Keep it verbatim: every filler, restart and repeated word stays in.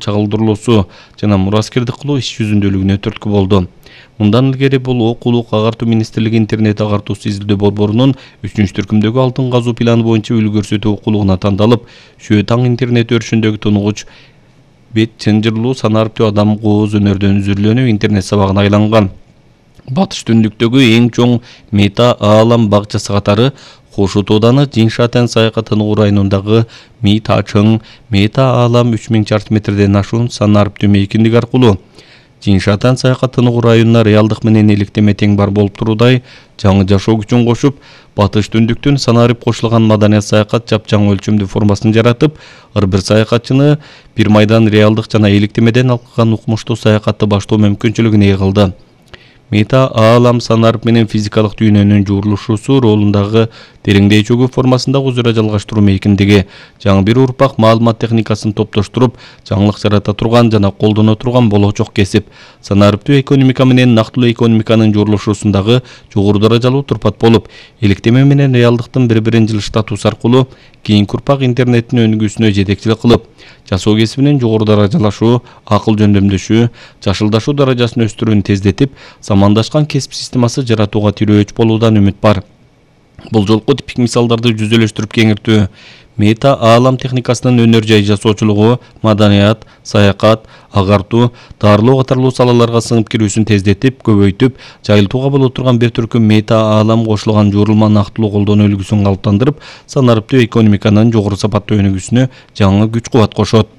чагылдырылуусу жана мураскердик кылуу иш жүзүндөлүгүнө түрткү болду. Мындан илгери бул окуулук агартуу министрлиги интернет агартуусу изилдөө борборунун үчүнчү түркүмдөгү алтын казуу планы боюнча үлгү көрсөтүү окуулугуна тандалып, Шөө таң интернет өрүшүндөгү тунугуч бет чынжырлуу санариптүү адам кооз өнөрдөн үзүрүлөнүп интернет сабагына айланган. Батыш түндүктөгү эң чоң мета аалам бакчасы катары Кошо тооданы Жиншатен саякатынын районундагы Мита чың мета аалам үч миң чарчы метрден ашуун санариптүү мейкиндик аркылуу Жиншатен саякатынын районуна реалдык менен иликтеме тең бар болуп туруудай жаңы жашоо күчүн кошуп, Батыш түндүктүн санарип кошулган маданият саякат жапжаң өлчөмдүү формасын жаратып, ар бир саякатчыны бир майдан реалдык жана иликтемеден алкаган укмуштуу саякатты баштоо мүмкүнчүлүгүн кылды. Мета аалам санарип менен физикалык дүйнөнүн жуурулушуусу ролундагы тереңдей чөгүү формасындагы өзара жалгаштыруу мейкиндиги жаңы бир урпак маалымат техникасын топтоштуруп, жаңылык жарата турган жана колдоно турган болочок кесип, санариптүү экономика менен нактылуу экономиканын жуурулушуусундагы жогору даражалуу турпат болуп, иликтеме менен реалдыктын бири-бирин жылыштатуусу аркылуу кийинки урпак интернеттин өнүгүүсүнө жетекчилик кылып, жасоо кесибинин жогору даражалашуу, акыл жөндөмдөшүү, жашылдашуу даражасын өстүрүүнү тездетип, самандашкан кесип системасы жаратууга тирөөч болуудан үмүт бар. Бул жолку типик мисалдарды жүзөлөштүрүп кеңиртүү, мета аалам техникасынын өнөр жай жасоочулугу, маданият, саякат, агартуу, дарылоо катарлуу салаларга сыңып кирүүсүн тездетип, көбөйтүп, жайылтууга боло турган бир түркүм мета аалам кошулган жуурулма нактылуу колдонуу үлгүсүн калыптандырып, санариптүү экономиканын жогору сапаттуу өнүгүүсүнө жаңы күч кубат кошот.